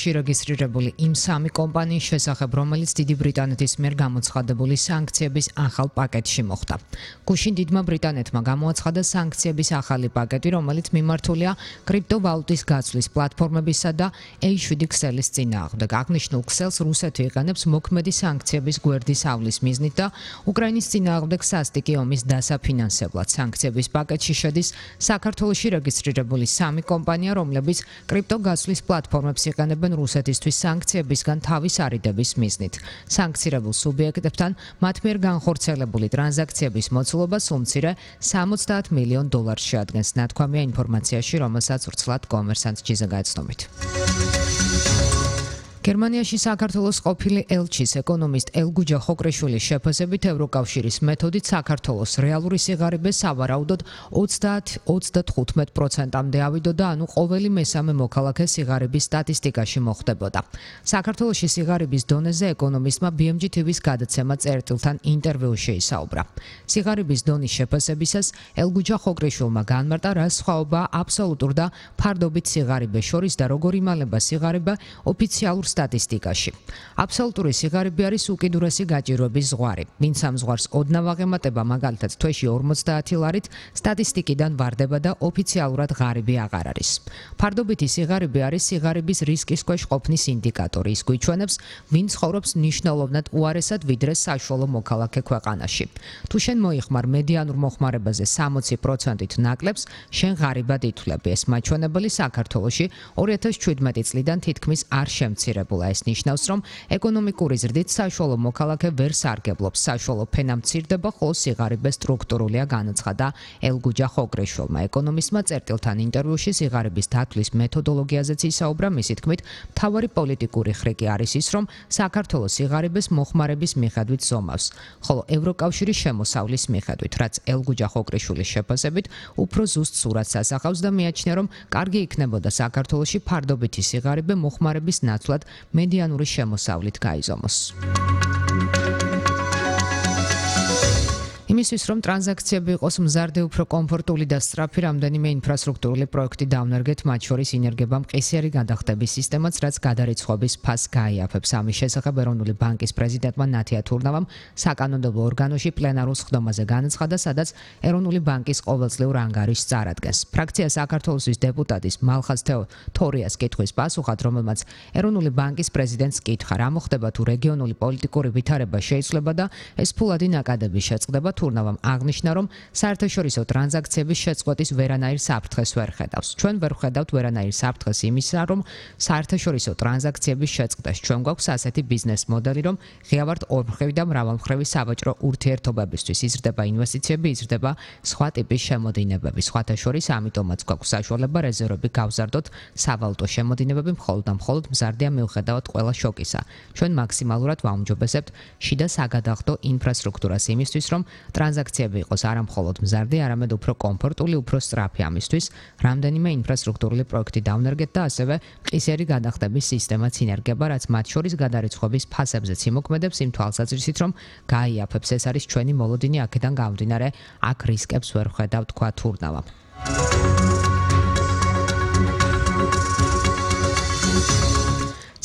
საქართველოში რეგისტრირებული იმ სამი კომპანიის შესახებ, რომელიც დიდი ბრიტანეთის მიერ გამოცხადებული სანქციების ახალ პაკეტში მოხვდა. გუშინ დიდმა ბრიტანეთმა გამოაცხადა სანქციების ახალი პაკეტი, რომელიც მიმართულია კრიპტოვალუტის გაცვლის პლატფორმებისა და A7 ქსელის წინააღმდეგ. აღნიშნულ ქსელს რუსეთი იყენებს მოქმედი სანქციების გვერდის ავლის მიზნით და უკრაინის წინააღმდეგ სასტიკი ომის დასაფინანსებლად. სანქციების პაკეტში შედის საქართველოში რეგისტრირებული სამი კომპანია, რომლებიც კრიპტოგაცვლის პლატფორმებს იყენებენ რუსეთისთვის სანქციებისგან თავის არიდების მიზნით. სანქცირებულ სუბიექტებთან მათ მიერ განხორციელებული ტრანზაქციების მოცულობა სულ მცირე $70 მილიონ შეადგენს. ნათქვამია ინფორმაციაში, რომელსაც ვრცლად კომერსანტ ჯიზა გაეცნობით. გერმანიაში საქართველოს ყოფილი ელჩის ეკონომისტ ელგუჯა ხოկრეშვილის შეფასებით ევროკავშირის მეთოდით საქართველოს რეალური სიღარიბე სავარაუდოდ 30-35%-მდე ავიდოდა, ანუ ყოველი მესამე მოქალაქე სიღარიბის სტატისტიკაში მოხვდებოდა. საქართველოში სიღარიბის დონეზე ეკონომისტმა BMG TV-ს გადაცემა წერტილთან ინტერვიუში ისაუბრა. სიღარიბის დონის შეფასებისას ელგუჯა ხოկრეშვილმა განმარტა, რა სხვაობაა აბსოლუტურ და ფარდობით სიღარიბეს შორის და როგორ იმალება სიღარიბე ოფიციალურ სტატისტიკაში. აბსოლუტური სიღარიბე არის უკიდურესი გაჭირვების ზღვარი. ვინც ამ ზღვარს ოდნავ აღემატება, მაგალითად თვეში 50 ლარით, სტატისტიკიდან ვარდება და ოფიციალურად ღარიბი აღარ არის. ფარდობითი სიღარიბე არის სიღარიბის რისკის ქვეშ ყოფნის ინდიკატორი. ის გვიჩვენებს, ვინ ცხოვრობს მნიშვნელოვნად უარესად ვიდრე საშუალო მოქალაქე ქვეყანაში. თუ შენ მოიხმარ მედიანურ მოხმარებაზე 60%-ით ნაკლებს, შენ ღარიბად ითვლები. ეს მაჩვენებელი საქართველოში 2017 წლიდან თითქმის არ შემცირებულა. ეს ნიშნავს, რომ ეკონომიკური ზრდით საშუალო მოქალაქე ვერ სარგებლობს. საშუალო ფენა მცირდება, ხოლო სიღარიბე სტრუქტურულია, განაცხადა ელგუჯა ხოկრეშვილმა. ეკონომისტმა წერტილთან ინტერვიუში სიღარიბის დათვლის მეთოდოლოგიაზეც ისაუბრა. მისი თქმით, მთავარი პოლიტიკური ხრიკი არის ის, რომ საქართველოს სიღარიბეს მოხმარების მიხედვით ზომავს, ხოლო ევროკავშირის შემოსავლის მიხედვით, რაც ელგუჯა ხოկრეშვილის შეფასებით უფრო ზუსტ სურათს ასახავს და მიაჩნია, რომ კარგი იქნებოდა საქართველოში ფარდობითი სიღარიბე მოხმარების ნაცვლად მედიანური შემოსავლით გაიზომოს. იმისთვის, რომ ტრანზაქციები იყოს მზარდი, უფრო კომფორტული და სწრაფი, რამდენიმე ინფრასტრუქტურული პროექტი დავნერგეთ, მათ შორის ინერგება მყისიერი გადახდების სისტემაც, რაც გადარიცხვების ფასს გაიაფებს. ამის შესახებ ეროვნული ბანკის პრეზიდენტმა ნათია თურნავამ საკანონმდებლო ორგანოში პლენარულ სხდომაზე განაცხადა, სადაც ეროვნული ბანკის ყოველწლიურ ანგარიშს წარადგენს. ფრაქცია საქართველოსის დეპუტატის მალხაზ თორიას კითხვის პასუხად, რომელმაც ეროვნული ბანკის პრეზიდენტს კითხა, რა მოხდება თუ რეგიონული პოლიტიკური ვითარება შეიცვლება და ეს ფულადი ნაკადები შეწყდება. თურნავამ აღნიშნა, რომ საერთაშორისო ტრანზაქციების შეწყვეტის ვერანაირ საფრთხეს ვერ ხედავს. ჩვენ ვერ ხედავთ ვერანაირ საფრთხეს იმისა, რომ საერთაშორისო ტრანზაქციების შეწყვეტას. ჩვენ გვაქვს ასეთი ბიზნეს მოდელი, რომ ღია ვართ ორმხრივი და მრავალმხრივი სავაჭრო ურთიერთობებისთვის. იზრდება ინვესტიციები, იზრდება სხვა ტიპის შემოდინებები. სხვათა შორის ამიტომაც გვაქვს საშუალება რეზერვები გავზარდოთ. სავალუტო შემოდინებები მხოლოდ და მხოლოდ მზარდია მიუხედავად ყველა შოკისა. ჩვენ მაქსიმალურად ვაუმჯობესებთ შიდა საგადახდო ინფრასტრუქტურას იმისთვის, რომ ტრანზაქციები იყოს არა მხოლოდ მზარდი, არამედ უფრო კომფორტული, უფრო სწრაფი. ამისთვის რამდენიმე ინფრასტრუქტურული პროექტი დავნერგეთ და ასევე მყისიერი გადახდების სისტემაც ინერგება, რაც მათ შორის გადარიცხვების ფასებზეც იმოქმედებს იმ თვალსაზრისით, რომ გაიაფებს. ეს არის ჩვენი მოლოდინი, აქედან გამომდინარე, აქ რისკებს ვერ ვხედავ, თქვა თურნავა.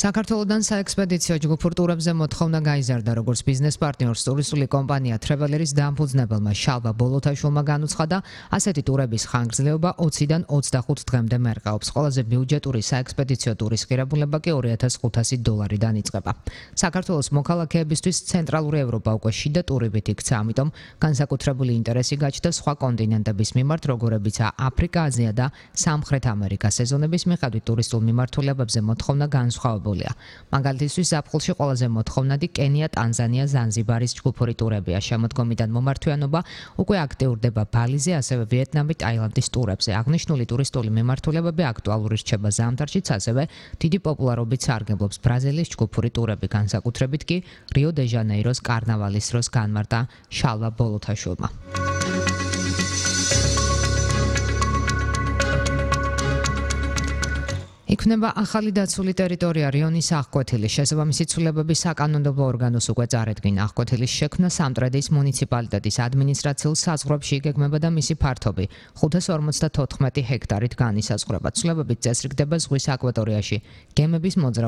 საქართველოდან საექსპედიციო ჯგუფურ ტურებზე მოთხოვნა გაიზარდა, როგორც ბიზნეს პარტნიორს ტურისტული კომპანია Travelers დამფუძნებელმა შალვა ბოლოთაშვილმა განუცხადა, ასეთი ტურების ხანგრძლივობა 20-დან 25 დღემდე მერყეობს. ყველაზე ბიუჯეტური საექსპედიციო ტურის ღირებულება კი $2,500-დან იწყება. საქართველოს მოქალაქეებისთვის ცენტრალური ევროპა უკვე შიდა ტურებით იქცა, ამიტომ განსაკუთრებული ინტერესი გაჩნდა სხვა კონტინენტების მიმართ, როგორებიცაა აფრიკა, აზია და სამხრეთ ამერიკა. სეზონების მიხედვით ტურისტულ მიმართულებებზე მოთხოვნა განსხვავებული. მაგალითისთვის ზაფხულში ყველაზე მოთხოვნადი კენია, ტანზანია, ზანზიბარის ჯგუფური ტურებია. შემოდგომიდან მომართვიანობა უკვე აქტიურდება ბალიზე, ასევე ვიეტნამი, ტაილანდის ტურებზე. აღნიშნული ტურისტული მიმართულებები აქტუალური რჩება ზამთარშიც, ასევე დიდი პოპულარობით სარგებლობს ბრაზილიის ჯგუფური ტურები, განსაკუთრებით კი რიო-დე-ჟანეიროს კარნავალის დროს, განმარტა შალვა ბოლოთაშვილმა. იქნება ახალი დაცული ტერიტორია რიონის აღკვეთილის. შესაბამისი ცვლილებები საკანონმდებლო ორგანოს უკვე წარედგინა. აღკვეთილის შექმნა სამტრედიის მუნიციპალიტეტის ადმინისტრაციულ საზღვრებში იგეგმება და მისი ფართობი 554 ჰექტარით განისაზღვრება. ცვლილებებით წესრიგდება ზღვის აკვატორიაში გემების მოძრაობა